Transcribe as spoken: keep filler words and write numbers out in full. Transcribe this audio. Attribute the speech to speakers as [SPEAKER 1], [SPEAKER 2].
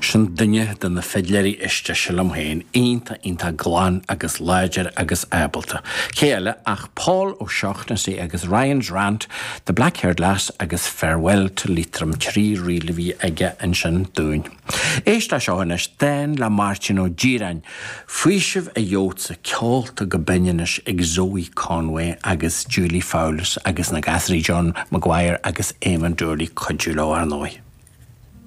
[SPEAKER 1] Sin duine de na fidléirí is deise liom féin, iontach iontach glan agus láidir agus ábalta. Cé eile ach Paul O'Shaughnessy agus Ryan's Rant, The Black-Haired Lass agus Farewell to Leitrim trí ríl a bhí aige ansin dúinn. Éist le seo anois dán le Máirtín Ó Direáin, Faoiseamh a gheobhadsa ceolta go binn anois ag Zoe Conway agus Julie Fowlis agus na gasraí John Maguire agus Eamon Dooley cuidiú leo ar ndóigh.